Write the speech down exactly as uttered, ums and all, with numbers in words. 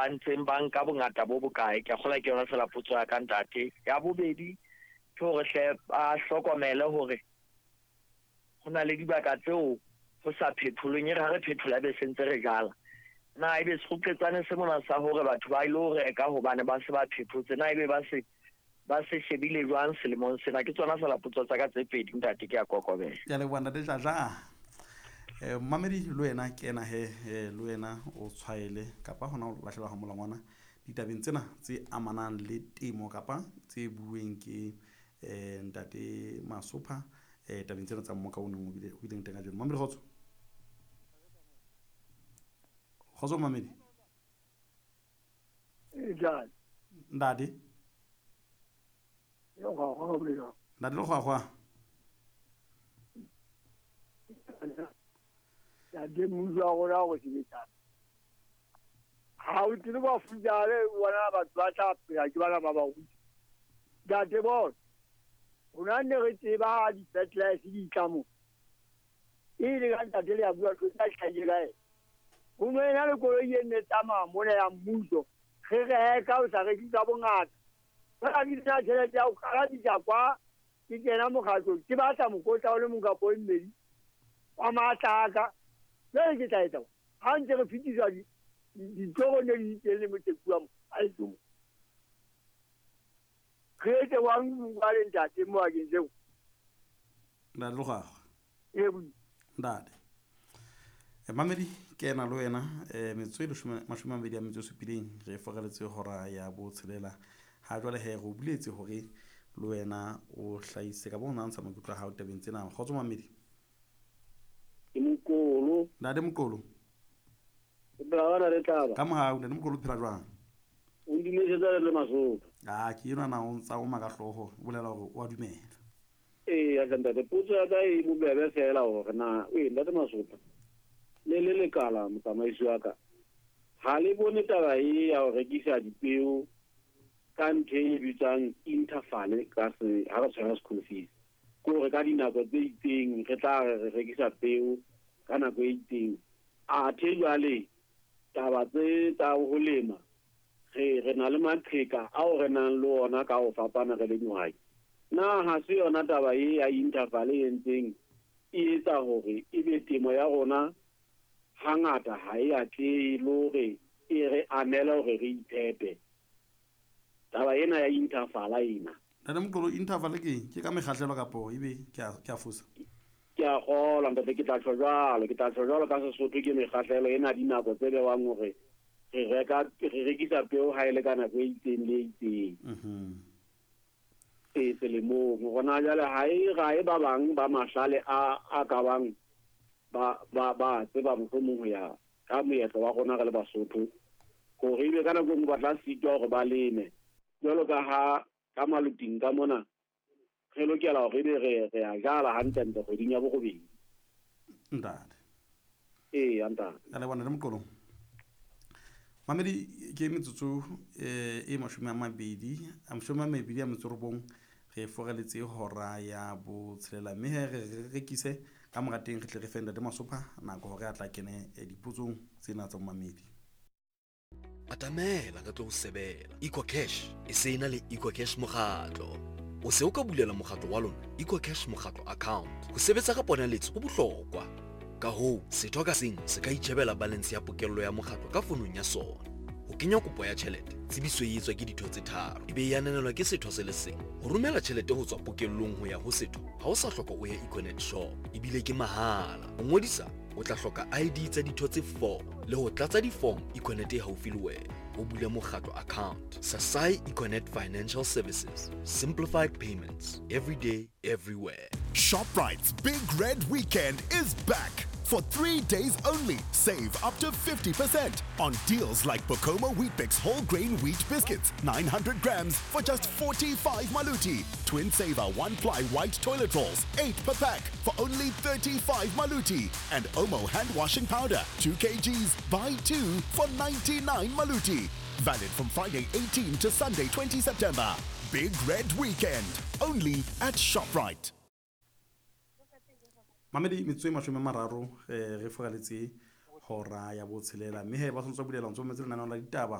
ba ntseng ba nka bongata bo bokae. Ke a kgolwa ke yona fela potso ya ka ntate. Ya bobedi ke hore hle ba hlokomele hore ho na le dibaka tseo ho sa phetholweng, e re ha re phethola be se ntse re jala. Na ebe sekgoqetsane se mona sa hore batho ba ilo reka hobane ba se ba phethotse, na ebe ba se ba se shebile jwang selemong sena? Ke tsona fela potso tsa ka tse pedi ntate, ke a kokobela. Ke a leboha ntate Dladla. Eh, mamedi le wena kena he, eh, le wena o tshwaele kapa hona o lahlela ha molangwana ditabeng tsena tse amanang le temo kapa tse bueng ke eh, ntate Masopha eh, tabeng tsena tsa mmoka o neng o bile, o bileng teng kajeno. Mamedi kgotso. Kgotso mamedi. Ntate. Ntate. Yo, ga, ga, ga, ga. Ntate le kgwakgwa. Ntate mmuso wa rona o sebetsang. Ha o tsebe ba futjale bona batho ba tla phela ke bana ba baruti. Ntate bona, rona ne re tseba ha di-fertilizer di tla mo. E le ka ntate le a bua tlo tla hlahile kae. Ho no ena le koloi e ne tsamaya mona ya mmuso. Re reka o sa reke ka bongata. Ba ke tsena tjhelete ya ho kalabisa kwa, ke kena mokgatlong, ke batla mokotla o le mong kapa o mmedi wa matlaka. Jwale ke tla etsa eng? Ha ntse re fetiswa di-, ditoro ne di teng le Motsekua mo, a le teng. Re etse jwang jwale ntate mo bakeng seo? Ntate Lekgwakgwa. Ee, bo- Ntate. Eh, mamedi ke ena le wena, eh, metsotso e leshome, mashome a mabedi a metso e supileng re fokeletse hora ya botshelela. Ha jwale he re o buletse hore le wena o hlahise kapa o ntsha maikutlo a hao tabeng tsena. Kgotso mamedi. Ke Mokolo. Ntate Mokolo. O phela jwang, ntate Tlaba? Ka mohau, ntate Mokolo, o phela jwang? O ndumesetsa le le Masopha. Ah, ke enwa na o ntsa o maka hlooho, o bolela hore o a dumela. Ee, ya ntate, potso ya ka e bobebe fela hore na, ee, ntate Masopha, le le lekala motsamaisi wa ka, ha le bone taba e ya ho rekisa dipeo ka ntho e bitswang interval ka se, ha re tshwara school fees, ke hore ka dinako tse itseng re tla re re rekisa peo ka nako e itseng. Athe jwale taba tse tsa ho lema, re, re na le maqheka ao re nang le ona ka ho fapana re le dihwai. Na ha se yona taba e ya interval e entseng e etsa hore ebe temo ya rona hangata ha e atlehe le hore e re amele hore re iphepe? Taba ena ya interval ena. Ntate Mokolo, interval ke eng? Ke ka mekgahlelo kapo ebe ke a, ke a fosa? Ke a kgolwa ntate, ke tla tjho jwalo, ke tla tjho jwalo ka Sesotho ke mekgahlelo ena dinako tse bewang hore re reka, re rekisa peo ha e le ka nako e itseng le e itseng. Mhm. E selemong. Hona jwale ha e, ha e ba bang ba mahlale a, a ka bang ba, ba, ba tseba mohlomong ho ya ka moetlo wa rona re le Basotho, hore ebe ka nako e nngwe ba tla sitwa hore ba leme. Jwalo ka ha ka maluting ka mona re lokela hore ebe re, re a jala hantlentle kgweding ya borobedi. Ntate. Ee, ntate. Ka leboha ntate Mokolo. Mamedi ke metsotso, eh, e mashome a mabedi, a mashome a mabedi a metso robong, re fokeletse hora ya botshelela, mme he re re rekise ka mora teng re tle re fe ntate Masopha nako hore a tla kene, eh, dipotsong tsena tsa mamedi. Atamela re tlo o sebela. EcoCash e se ena le EcoCash mokgatlo. O se o ka bulela mokgatlo wa lona EcoCash mokgatlo account. Ho sebetsa ka ponaletso ho bohlokwa. Ka hoo, setho ka seng se ka itjhebela balance ya pokello ya mokgatlo ka fonong ya sona. Ho kenya kopo ya tjhelete, tsebiso e etswa ke ditho tse tharo, e be e ananelwa ke setho se le seng. Ho romela tjhelete ho tswa pokellong ho ya ho setho, ha o sa hloka o ye Econet shop, ebile ke mahala. Ho ngodisa, o tla hloka I D tsa ditho tse four le ho tlatsa di-form Econet e haufi le wena. O bule mokgatlo account. Sasai Econet Financial Services. Simplified payments. Every day, everywhere. ShopRite's Big Red Weekend is back. For three days only, save up to fifty percent on deals like Bokomo Weet-Bix whole grain wheat biscuits, nine hundred grams for just forty-five maluti. Twin Saver one-ply white toilet rolls, eight per pack for only thirty-five maluti. And Omo hand washing powder, two kilograms, buy two for ninety-nine maluti. Valid from Friday eighteenth to Sunday twentieth September. Big Red Weekend, only at ShopRite. Mamedi metsotso e mashome a mararo, eh, re fokaletse hora ya botshelela, mme he ba tshwanetse ba bulela ntse ba mametse lenaneo la ditaba.